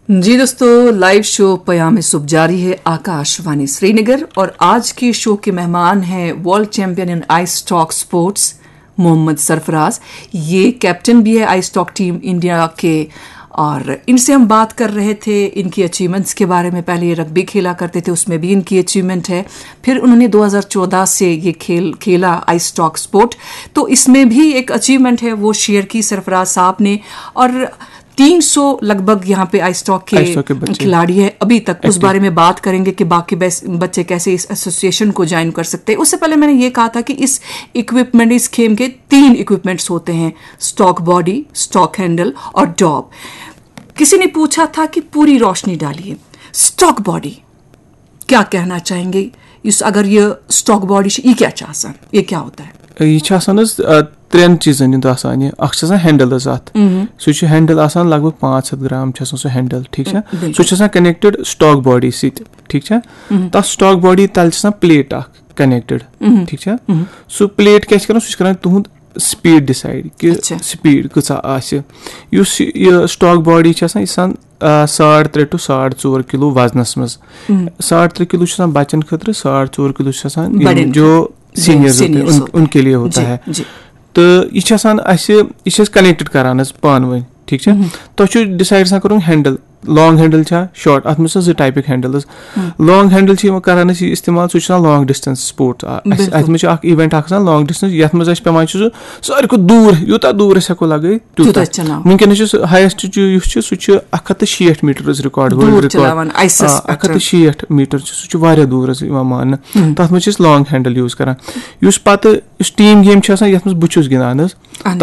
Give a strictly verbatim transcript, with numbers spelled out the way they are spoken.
जी दोस्तों, live show पयाम सुबह जारी है आकाशवाणी श्रीनगर और आज के शो के मेहमान हैं world champion in ice stock sports Mohammad Sarfaraz. ये कैप्टन भी है आइस स्टॉक टीम इंडिया के और इनसे हम बात कर रहे थे इनकी अचीवमेंट्स के बारे में। पहले ये रग्बी खेला करते थे, उसमें भी इनकी अचीवमेंट है। फिर उन्होंने दो हज़ार चौदह से ये खेल खेला आइस स्टॉक स्पोर्ट, तो इसमें भी एक अचीवमेंट है वो शेयर की सरफराज साहब ने। और तीन सौ लगभग यहाँ पे आइस स्टॉक के खिलाड़ी है अभी तक। उस बारे में बात करेंगे कि बाकी बच्चे कैसे इस एसोसिएशन को ज्वाइन कर सकते हैं। उससे पहले मैंने ये कहा था कि इस इक्विपमेंट इस गेम के तीन इक्विपमेंट्स होते हैं, स्टॉक बॉडी, स्टॉक हैंडल और डॉब। किसी ने पूछा था कि पूरी रोशनी डालिए, स्टॉक बॉडी क्या कहना चाहेंगे इस, अगर ये स्टॉक बॉडी ये क्या चाहता है, ये क्या होता है? یہ چھِ آسان حظ ترٛٮ۪ن چیٖزَن ہُنٛد آسان یہِ۔ اَکھ چھِ آسان ہینڈل حظ اَتھ۔ سُہ چھُ ہینڈل آسان لگ بگ پانٛژھ ہَتھ گرام چھُ آسان سُہ ہینڈل، ٹھیٖک چھا؟ سُہ چھُ آسان کنیکٹڈ سٹاک باڈی سۭتۍ، ٹھیٖک چھا؟ تَتھ سٹاک باڈی تَل چھِ آسان پلیٹ اَکھ کنیکٹڈ، ٹھیٖک چھا؟ سُہ پلیٹ کیٛاہ چھِ کران؟ سُہ چھُ کران تُہُنٛد سپیڈ ڈِسایڈ کہِ سپیڈ کۭژاہ آسہِ۔ یُس یہِ سٹاک باڈی چھِ آسان، یہِ چھِ آسان ساڑ ترٛےٚ ٹُو ساڑ ژور کِلوٗ وزنَس منٛز۔ ساڑ ترٛےٚ کِلوٗ چھُ آسان بَچَن خٲطرٕ، ساڑ ژور کِلوٗ چھُ آسان یِم جو سینئرز ہوتے ہیں، ان کے لیے ہوتا ہے۔ تہٕ یہِ چھِ آسان اَسہِ، یہِ چھِ أسۍ کنیکٹڈ کران حظ پانہٕ ؤنۍ، ٹھیٖک چھا؟ تۄہہِ چھُ ڈِسایڈ آسان کَرُن ہینڈل، لانگ ہینڈل چھا، شارٹ، اَتھ منٛز چھِ آسان زٕ ٹایپٕکۍ ہینڈلز۔ لانگ ہینڈل چھِ یِوان کران أسۍ یہِ استعمال، سُہ چھُ آسان لانگ ڈِسٹنس سپورٹ۔ اَسہِ، اَتھ منٛز چھُ اکھ ایونٹ اکھ آسان لانگ ڈِسٹنس، یَتھ منٛز اَسہِ پٮ۪وان چھُ سُہ ساروی کھۄتہٕ دوٗر، یوٗتاہ دوٗر أسۍ ہٮ۪کو لگٲوِتھ تیوٗتاہ۔ وٕنکیٚنس چھُ ہایسٹ یُس چھُ، سُہ چھُ اکھ ہَتھ تہٕ شیٹھ میٖٹر حظ ریکارڈ، ورلڈ ریکارڈ۔ اکھ ہَتھ تہٕ شیٹھ میٖٹر چھُ، سُہ چھُ واریاہ دوٗر حظ یِوان ماننہٕ۔ تَتھ منٛز چھِ أسۍ لانگ ہینڈل یوٗز کران۔ یُس پتہٕ یُس ٹیٖم گیم چھِ آسان، یَتھ منٛز بہٕ چھُس گِنٛدان حظ،